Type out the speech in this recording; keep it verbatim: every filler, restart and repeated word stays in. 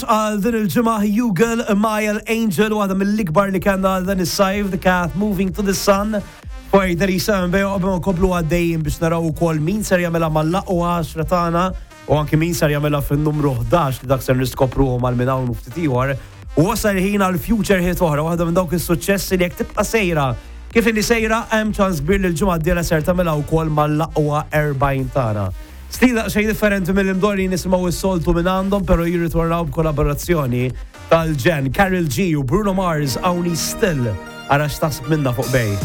Għal din il-ġimgħa Hugel Mile Angel, waħda mill-ikbar li kellna għal dan is-sajf, The Cat Moving to the Sun. Fuq thirty-seven Bay, qabel ma nkomplu għaddejjin biex naraw ukoll min ser jagħmilha mal-aqwa għaxra tagħna u anki min ser jagħmilha fin-numru ħdax, li dak ser niskopruhom għal minn hawn u ftit ieħor. U wasal ħin għal future hit oħra, waħda minn dawk is-suċċessi li jekk tibqa' sejra kif inni sejra, hemm ċans kbir li l-ġimgħa d-dieħla ser tagħmilha wkoll mal-aqwa erbgħin tagħna. Stil xejn differenti mill-imdorri nisimgħu s-soltu minn għandhom, pero jirritornaw b'kollaborazzjoni tal-ġenn Karol G u Bruno Mars, hawn Still. Ara x'taħseb minna fuq Bay.